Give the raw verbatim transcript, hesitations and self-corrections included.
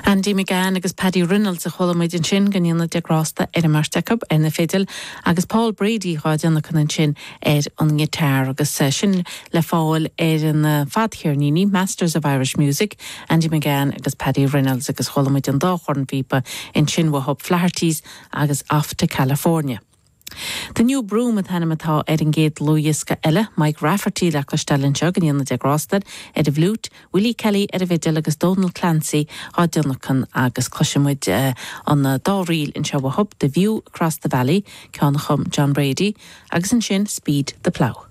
Andy McGann agus Paddy Reynolds a chuala muid ansin go ndéana Dia grásta ar an mbeirt acu ar na fidil agus Paul Brady á dtionlacan ansin ar an ngiotár agus eh, sin le fáil ar an eh, fadcheirníní Masters of Irish Music, Andy McGann agus Paddy Reynolds agus chuala muid an dá chornphíopa ansin uathu Flaherty's agus Off to California. The New Broom an t-ainm atá ar an gcéad dlúthdhiosca eile, Mike Rafferty le cloisteáil anseo go ndéana Dia grásta ar an bhfliúit, Willie Kelly ar an bhfidil agus Donal Clancy á dtionlacan agus cloisfimid uh, an dá ríl anseo uathu The View Across the Valley, ceann a chum John Brady, agus ansin Speed the Plough.